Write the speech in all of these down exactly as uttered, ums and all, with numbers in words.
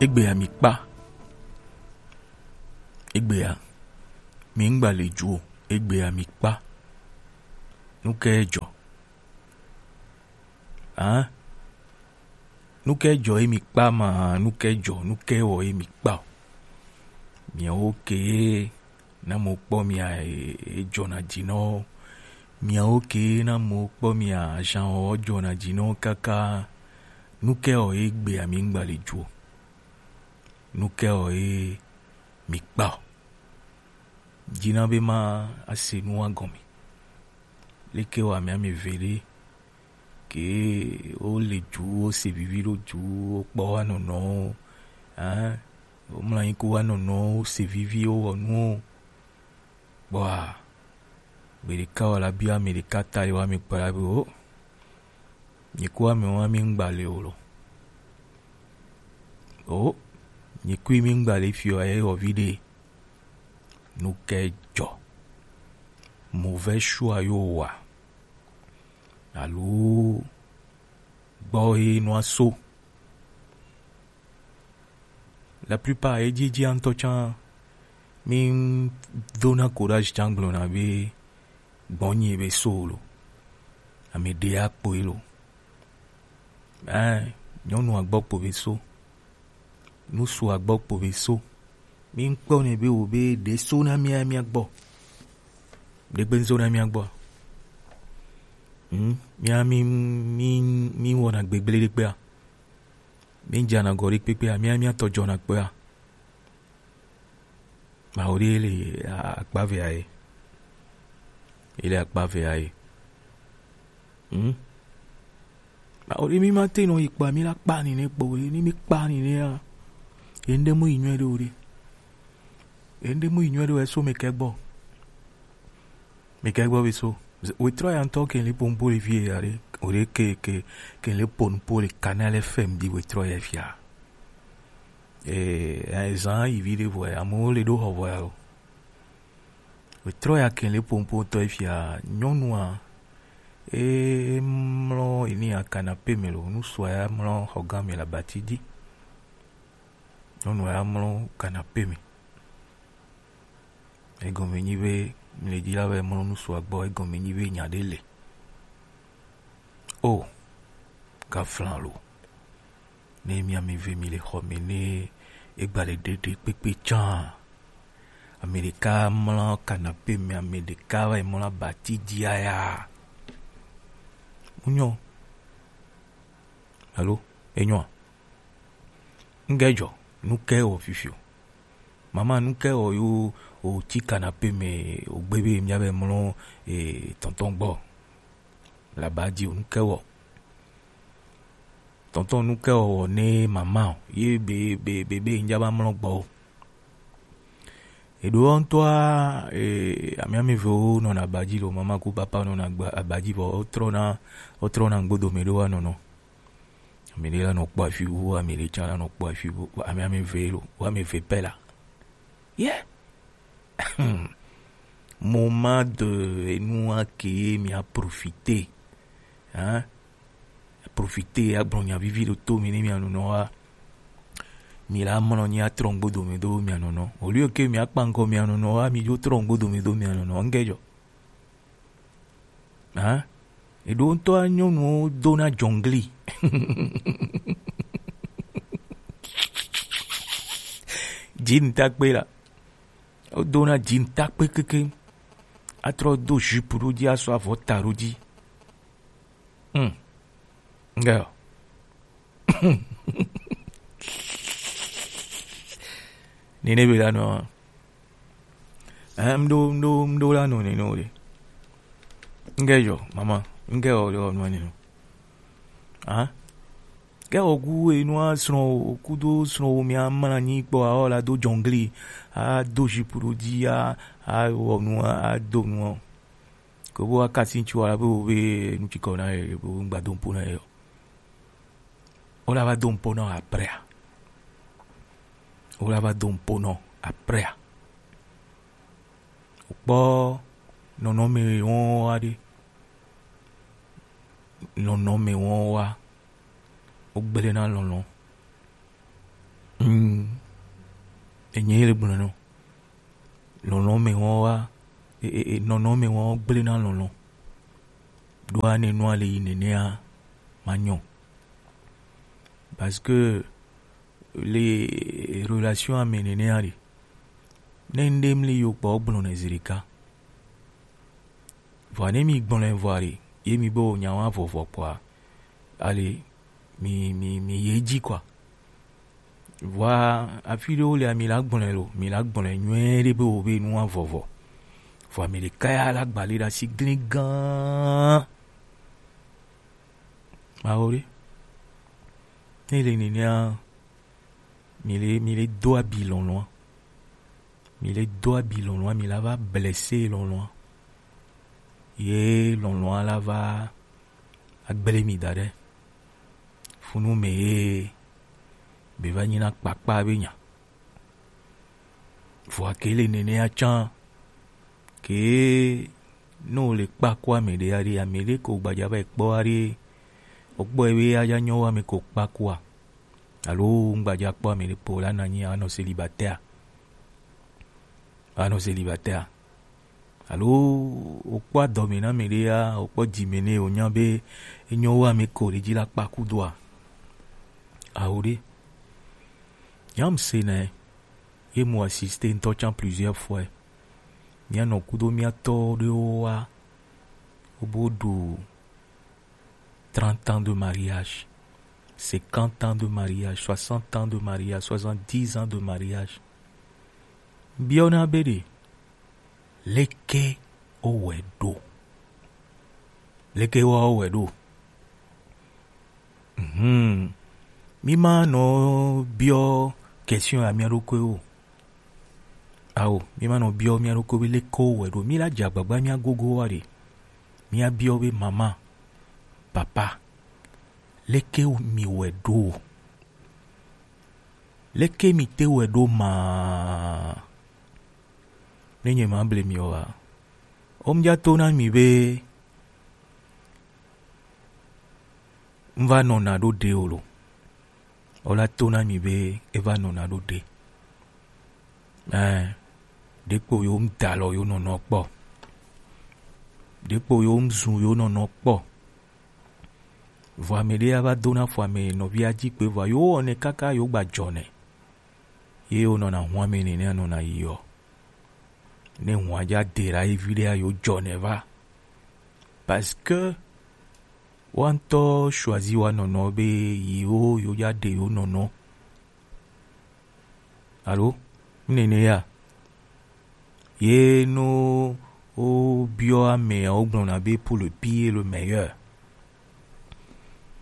Egbea mi kpa. Egbea mi ŋgba le ju o. Egbea mi kpa. Nuke jɔ? Hã? Nuke jɔ ye mi kpa ma? Nuke jɔ? Nuke wɔ ye mi kpa o? Miawo ke na mo kpɔ mia e, e jɔna ji nɔ. Miawo ke na mo kpɔ mia jan o jɔna ji nɔ kaka. Nuke wɔ ye egbea mi ŋgba le ju o? Nuke wɔ ye mi kpa o? Jina be ma ase nu wa gɔme. Leke wa mi ame ve ɖe ke wo le ju, wo se vivi ɖo ju, wo kpɔ wa nɔnɔ, hein? Wo mla anyi ku wa nɔnɔ, wo se vivi, wo wɔ nu o. Kpɔa, gbe ɖeka wa la bia ame ɖeka ta yi wa mi kpɔ la be o. Nyi ku ame wa mi ŋgba le o lo. O, nyi ku mi ŋgba le fi o ye wɔ vi ɖe. Nuke jɔ? Mauvais choix yo wa? Alo gbɔ ye nua so? La plupart ye jijia ŋutɔ tsã mi dona courage tsã gblɔna be gbɔnyi be so lo. Ame ɖe akpɔe lo. Ɛɛ, nyɔnua gbɔ kpo be so. Nusua gbɔ kpo be so. Mi ŋkpɔ ne be wo be ɖe so na mia mia gbɔ. Ɖe gbe so na mia gbɔ. Hmm, mia mi mi mi wɔna gbegble ɖe kpea. Mi jana gɔ ɖe kpekpea, mia mia tɔ jɔna kpea. Mawu ɖe le akpa ve aye. Ele akpa ve aye. Hmm? Mawu ɖe mi ma te nɔ yi kpa mi la kpa ni ne kpo ɖe, ni mi kpa ni ne a. Ende mu yi nyuɛ ɖe o ɖe. Ende mu yi nyuɛ ɖe o eso me kɛ gbɔ. Me kɛ gbɔ be so. Wetrɔ ya ŋutɔ ke le pompo le vie ya ɖe. O ɖe ke ke ke le pompo le Canal F M di wetrɔ ya fia. Eh, eh, zan yi vi ɖe vɔ ya, amewo le ɖo xɔ vɔ ya lo. Wetrɔ ya ke le pompo tɔ fia, nyɔnua, e mlɔ ini ya canapé me lo, nusua ya mlɔ xɔ gã me le abati dzi. Nyɔnua ya mlɔ canapé me. Egɔme nyi be, mi le dzi la be mlɔ nusua gbɔ, egɔme nyi be nya ɖe le. O, gaflan lo. Ne mi ame eve mi le xɔ me ne egba le ɖeɖe kpekpe tsã, ame ɖeka mlɔ canapé me, ame ɖeka va yi mlɔ abati dzi aya. Ŋnyɔ. Alo, enyɔa? Ŋgɛ jɔ, nuke wɔ fifi o? Mama, nuke wɔ yo o ti canapé me o gbe be mia be mlɔ e tɔntɔn gbɔ? Laba dzi o, nuke wɔ? Tɔntɔn, nuke wɔ ne mama o? Ye be be be be ŋdza ba mlɔ gbɔ o. Eɖo ŋutɔa, e, ame ame evewo nɔna abadzi lo, mama ku papa nɔna agba-, abadzi vɔ wotrɔna, wotrɔna ŋgbodo me ɖo wa nɔnɔ. Ame ɖe la nɔ kpɔ afi wu, ame ɖe tsã la nɔ kpɔ afi wu, ame ame eve lo, wo ame eve pɛ la. Yeah. Moment de enua ke mi a profiter. Hein? Profiter, agblɔ nya vivi ɖo to mi ne mia nɔnɔ wa. Mi la mlɔ nyi atrɔ ŋgbo dome do mia nɔnɔ. Au lieu que mi akpa ŋkɔ mia nɔnɔ wa, mi dzo trɔ ŋgbo dome do mia nɔnɔ. Ŋgɛ jɔ. Hein? Eɖo ŋutɔa nyɔnuwo dona jɔngli. Jean takpe la. Wodona jean takpe keke. Atrɔ do jupe ɖo dzi, asɔ avɔ ta ɖo dzi. Hmm. Ŋgɛ. Nene be la nɔ. Eh, mɖo, mɖo, mɖo la nɔ nene o ɖe. Ŋgɛ jɔ, mama. Ŋgɛ o ɖe o nɔ nene. Ah? Ke o gu enua srɔ̃ o, kudo srɔ̃ o mia mla nyi kpɔ, a o la do jɔngli, a do jupe ɖo dzi, a, a wɔ nu, a, a do nu. Ko bo a kasi ŋtsu a be o be nu tsi kɔ na ye, bo ŋgba do ŋpo na ye o. O la va do ŋpo nɔ après a. O la va do ŋpo nɔ après a. O kpɔ nɔnɔme wɔn wa ɖe. Nɔnɔme wɔn wa. O gblẽ na lɔlɔ̃. Mm. Enye le gblɔ nɔ. Lɔlɔ̃ me wɔn wa, e, e, e, nɔnɔ me wɔn gblẽ na lɔlɔ̃. Ɖo ane nua le yi nenea, ma nyɔ. Parce que le relation ame nenea ɖe, ne ŋɖe mli yo kpɔ gblɔ ne zirika. Vɔa ne mi gblɔe vɔa ɖe, ye mi be wo nya wa vɔvɔ kpɔa, ale mi, mi, mi ye dzi kɔa. Vɔa afi ɖewo lea, mi la gblɔe lo, mi la gblɔe nyuie ɖe be wo be nu wa vɔvɔ. Vɔa mi ɖeka ya la gba li ɖe asi gli gã. Mawo ɖe. Ne le nenea, mi le, mi le do abi lɔlɔ̃a. Mi le do abi lɔlɔ̃a, mi la va blessé lɔlɔ̃a. Ye lɔlɔ̃a la va agblẽ mi da ɖe funu me ye be va nyi na kpakpa be nya. Vɔa ke le nenea tsã, ke ne wo le kpaku ame ɖe aɖe, ame ɖe ko gbadza va yi kpɔ aɖe, wo kpɔe be aja nyɔ wa ame ko kpakua. Alo ŋgbadza kpɔ ame ɖe kpo la na nyi anɔ célibataire. Anɔ célibataire. Alo wokpɔ adɔme na ame ɖe ya, wokpɔ dzime nɛ, wonya be enyo wu ame ko ɖe dzi la kpa kudoa? Ao ɖe. Nyam se nɛ, ye mu assisté ŋutɔ tsã plusieurs fois. Mía nɔ kudo mía tɔ ɖewo wa, wobo ɖu trente ans de mariage, cinquante ans de mariage, soixante ans de mariage, soixante-dix ans de mariage. Biɔna be ɖe, leke wowɔe ɖo? Leke wowɔe ɖo? Mhm. Mi ma nɔ biɔ question ya mía ɖokui o. Ao, mi ma nɔ biɔ mía ɖokui be leke wowɔe ɖo. Mi la dze agbagba mía gogo wa ɖe. Mía biɔ be mama, papa, leke mi wɔe ɖo? Leke mi te wɔe ɖo ma? Ne nye ma ble mi o wa. Omdza to na mi be n va nɔna ɖo ɖe o lo. Wola to na mi be e va nɔna ɖo ɖe. Ɛɛ, ɖekpo yo ŋda lɔ yo nɔnɔ kpɔ. Ɖekpo yo ŋzu yo nɔnɔ kpɔ. Vɔ ame ɖe ya va do na fɔ ame nɔvia dzi kpe vɔ yo wɔnɛ kaka yo gba dzɔ nɛ. Ye wo nɔna hun ame nɛnɛ nɔna yi ɔ. Ne hun adza de la evi ɖe ya yo dzɔ nɛ va. Parce que wa ŋutɔ choisi wa nɔnɔ be yi wo yo dza ɖe yo nɔnɔ. Alo? Nene ya. Ye no wo biɔ amea wo gblɔna be pour le pire et le meilleur.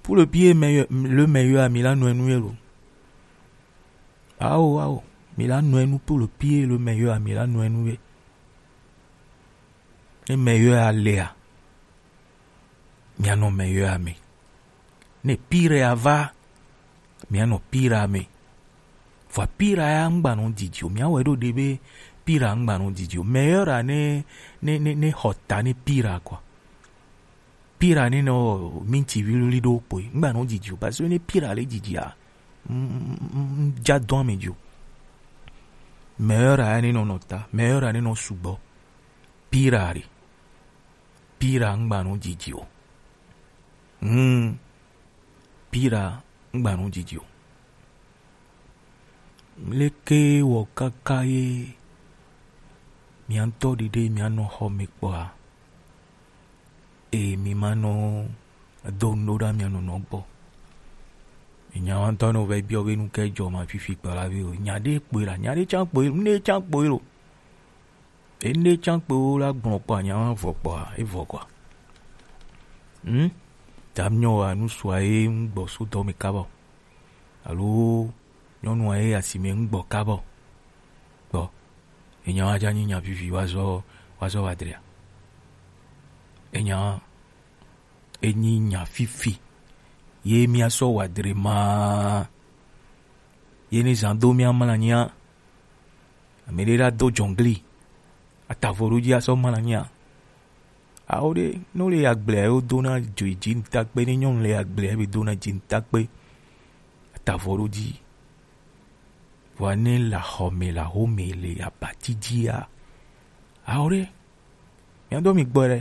Pour le pire et meilleur, le meilleur, mi la nɔ enu ye lo. Ao, ao, mi la nɔ enu pour le pire et le meilleur, mi la nɔ enu ye. Ne meilleur alea, mianɔ meilleur ame. Ne pire ava, mianɔ pire ame. Vɔa pire ya ŋgbanɔ didi o. Miawɔe ɖo ɖe be pire ŋgbanɔ didi o. Meilleur ne, ne, ne, ne xɔ ta ne pire kɔa. Pire ne nɔ minti viluli ɖo kpoe. Ŋgbanɔ didi o. Parce que ne pire le didia, ŋdza dɔn ame dio. Meilleur ya ne nɔ nɔ ta. Meilleur ya ne nɔ sugbɔ. Pire ɖe. Pire ŋgbanɔ didi o. Hmm. Pire ŋgbanɔ didi o. Leke wɔ kaka ye mia ŋutɔ ɖiɖe mia nɔ xɔ me kpɔa? Eye mi ma nɔ do nu ɖo ɖa mia nɔnɔ gbɔ. Nya wa ŋutɔ nɔ va biɔ be nu ke dzɔ ma fifi kpɔ la vi o. Nya ɖe kpoe la, nya ɖe tsã kpoe, nu ɖe tsã kpoe lo. Ene tsã kpe wo la gblɔ kpɔ anya wa vɔ kpɔa, evɔ kɔa. Hmm? Tam nyɔ wa nu sua ye ŋgbɔ so dɔ me kabɔ. Alo nyɔnua ye asime ŋgbɔ kabɔ. Kpɔ. Enya wa dza nyi nya vivi wa zɔ, wa zɔ wa dria. Enya wa enyi nya fifi. Ye mia sɔ wa dre ma. Ye ni zan do mia mla nyia. Ame ɖe la do dzɔngli, atavɔ ɖo dzi asɔ ma la nyia. Awo ɖe, ne wole agblea, wo dona dzi, dzi ŋutakpe, ne nyɔnu le agblea, be dona dzi ŋutakpe, atavɔ ɖo dzi. Vɔa ne le axɔme le axome le abati dzia, ao ɖe, mia do mi gbɔ ɖe,